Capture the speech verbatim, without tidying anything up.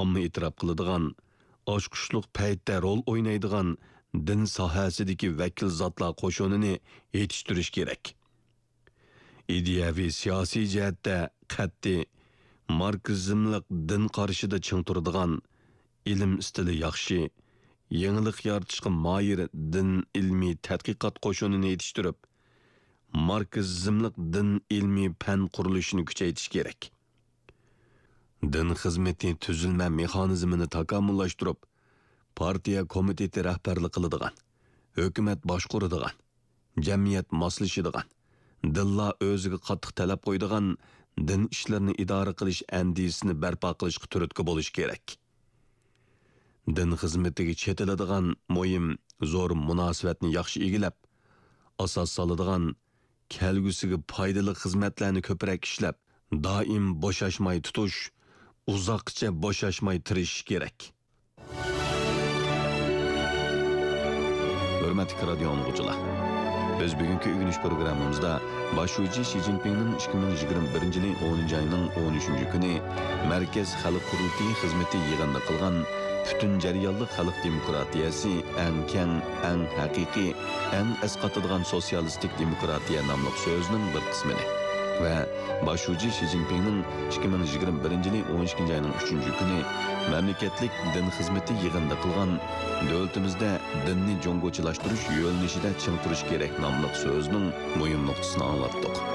ئامما ئېتىراپ قىلىدىغان، ئاچقۇچلۇق پەيتتە رول ئوينايدىغان دىن ساھەسىدىكى ۋەكىل زاتلار قوشۇنىنى يېتىشتۈرۈش كېرەك. ئىدىيەۋى سىياسىي جەھەتتە قەتئىي ماركسىزملىق دىن قارىشىدا چىڭ تۇرىدىغان، ئىلىم ئىستىلى ياخشى، يېڭىلىق يارىتىشقا ماھىر دىن ئىلمىي تەتقىقات قوشۇنىنى يېتىشتۈرۈپ، ماركسىزملىق دىن ئىلمىي پەن قۇرۇلۇشىنى كۈچەيتىش كېرەك. دىن خىزمىتى تۈزۈلمە مېخانىزمىنى تاكامۇللاشتۇرۇپ، پارتىيە كومىتېتى رەھبەرلىك قىلىدىغان، ھۆكۈمەت باشقۇرىدىغان، جەمئىيەت ماسلىشىدىغان، دىنلار ئۆزىگە قاتتىق تەلەپ قويىدىغان دىن ئىشلىرىنى ئىدارە قىلىش ئەندىزىسىنى بەرپا قىلىشقا تۈرتكە بولۇش كېرەك. دىن خىزمىتىگە چېتىلىدىغان مۇھىم، زور مۇناسىۋەتنى ياخشى ئىگىلەپ، ئاساس سالىدىغان، كەلگۈسىگە پايدىلىق خىزمەتلەرنى كۆپرەك ئىشلەپ، دائىم بوشاشماي تۇتۇش، ئۇزاققىچە بوشاشماي تىرىشىش كېرەك. ھۆرمەتلىك رادىيو ئاڭلىغۇچىلار! بىز بۈگۈنكى ئۆگىنىش پروگراممىمىزدا باش شۇجى شى جىنپىڭنىڭ ئىككى مىڭ يىگىرمە بىرىنچى يىلى ئونىنچى ئاينىڭ ئون ئۈچىنچى كۈنى مەركەز خەلق قۇرۇلتىيى خىزمىتى يىغىنىدا قىلغان پۈتۈن جەريانلىق خەلق دېموكراتىيەسى ئەڭ كەڭ، ئەڭ ھەقىقىي، ئەڭ ئەسقاتىدىغان سوتسىيالىستىك دېموكراتىيە ناملىق سۆزىنىڭ بىر قىسمىنى ۋە باش شۇجى شى جىنپىڭنىڭ ئىككى مىڭ يىگىرمە بىرىنچى يىلى ئون ئىككىنچى ئاينىڭ ئۈچىنچى كۈنى مەملىكەتلىك دىن خىزمىتى يىغىنىدا قىلغان دۆلىتىمىزدە دىننى جۇڭگوچىلاشتۇرۇش يۆنىلىشىدە چىڭ تۇرۇش كېرەك ناملىق سۆزىنىڭ مۇھىم نۇقتىسىنى ئاڭلاتتۇق.